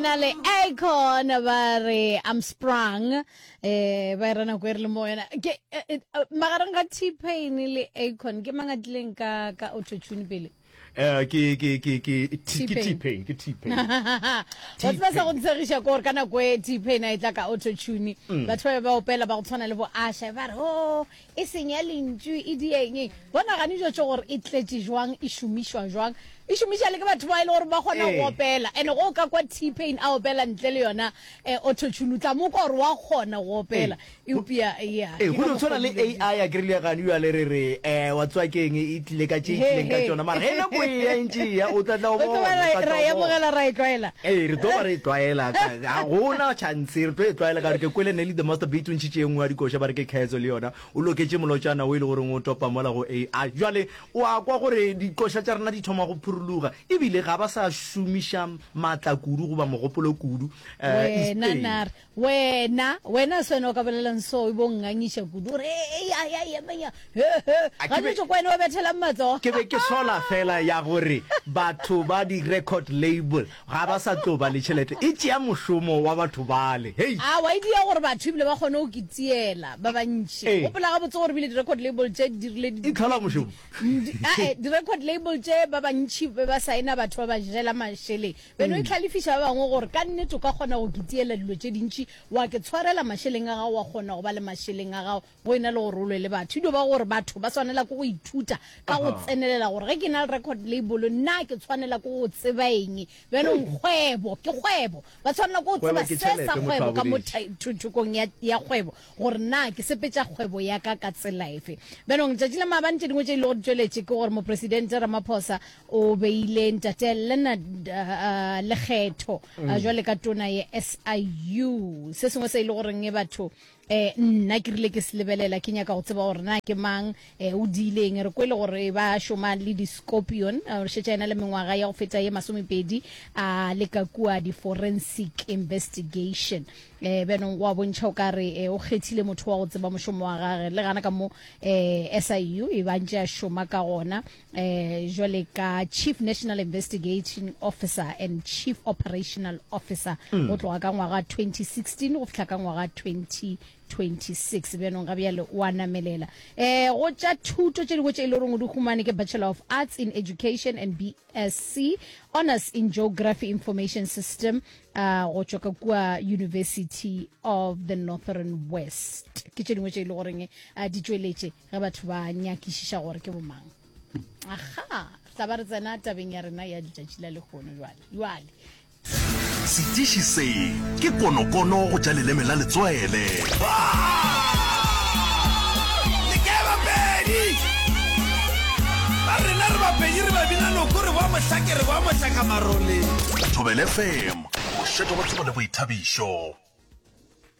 na le Akon ba re I'm sprung eh ba era nako e re le mo yona ke eh, eh, magareng ga T-Pain le Akon ke mang a tlileng ka ka auto tune pele Eh, ke ke ke ke T- ke T-Pain ke T-Pain wa tseba sa go ntshegiša ke gore ka nako e T-Pain a e tla ka auto tune Mm. batho ba be ba opela ba go tshwana le bo Asha ba re o e senya lentšu e dieng bona gane jo tše gore e tletše jwang e šomišwa jwang e šomiša le ke batho ba e le gore ba kgona go Ee. opela and go ka kwa T-Pain a opela ntle le yona eh, auto tune o tla mo kwa gore wa kgona go opela eupša ya Ee, ke go ka no tshwana le mokgwa o dilo AI a kry le gane jale re re um wa tswa keng e tlile ka tše e He, tlileng ka he. tšona mara ge nako e ya e ntše e ya o tla tla o O tlo ba bona, o ra tla tla ra o e bona. amogela ra e tlwaela Ee, re tlo ba re e tlwaela ka- ga gona chance re tlo e tlwaela ka gore ke kwele Nelly the Master Beat o ntšhitše e nngwe ya dikoša ba re ke Khetso le yona o loketše molotšana o e le goreng o topa mola go AI jwale o a kwa gore dikoša tša rena di thoma go phuruluga ebile ga ba sa šomiša maatla kudu goba mogopolo kudu eh, wena East nare Wena, wena se wena o ka bolelang so, e bo nngangiša kudu, o re, Ee, ya, ya, ya, ya, he, he. A ke be- Gantši ko wena o bethelang matsogo. Ke be ke sola fela ya gore batho ba di-record label ga ba sa tlo ba le tšhelete. E tšea mošomo wa batho bale. Hei! A wa e dia gore batho ebile ba kgone go ke tiela ba bantši. Ee. Gopola gabotse gore ebile di-record label tše di dirile di- E tlhola mošomo. di- ae, di-record label tše ba bantši be ba saena batho ba ba jela mašeleng. Beno e hlalefiša ba bangwe gore ka nnete o ka kgona go kitiela dilo tše dintši, wa ke tshwarela mašeleng a gago, wa kgona go ba le mašeleng a gago go e na le gore o lwe le batho. E dio ba gore batho ba swanela ke go ithuta ka go tsenelela gore ge ke na le record label nna ke tshwanela ke go tseba eng. Bjanong kgwebo ke kgwebo, ba tshwanela ke go Kgwebo tseba ke se sa tšhelete, motho kgwebo a ka mo boletše. thokong ya, ya kgwebo gore na ke sepetša kgwebo ya ka ka tsela efe. Bjanong letšatši la maabane tše dingwe tše e lego di tšweletše ke gore Mopresidente Ramaphosa O beile Ntate Leonard Lekgetho jwale ka tona ya SIU. Se sengwe se e le goreng batho eh nna ke rile ke se lebelela ke nyaka go tseba gore na ke mang eh, o diileng. Re kwele gore ba šoma le di-scorpion, eh, šetša ena le mengwaga ya go feta ye masomepedi a le ka kua di-forensic investigation. Eh, bjanong go a bontšha o ka re eh, o kgethile motho wa go tseba mošomo wa gage le gana ka mo eh, SIU e ba ntše a šoma ka gona. eh jwale ka Chief National Investigating Officer and Chief Operational Officer mm. go tloga ka ngwaga 2016 go fihla ka ngwaga 2026 bjanong ga bjale o a namelela eh go tša thuto tše dingwe tše e le goreng o di humane ke Bachelor of Arts in Education and BSc Honors in Geography Information System uh, go tšwa ka kua University of the Northern West ke tše dingwe tše e le goreng uh, di tšweletše Ge batho ba nyakišiša gore ke bomang. Aga, re tla ba re tsena tabeng ya rena ya letšatši la lehono jwale. Jwale. Setiši se ke konokono go tša leleme la letswele. Le kae Bapedi? Ba rena re Bapedi re ba bina noko re boa mohlake re boa mohlaka marole. Thobela FM, mošate wa tsebo le boithabišo.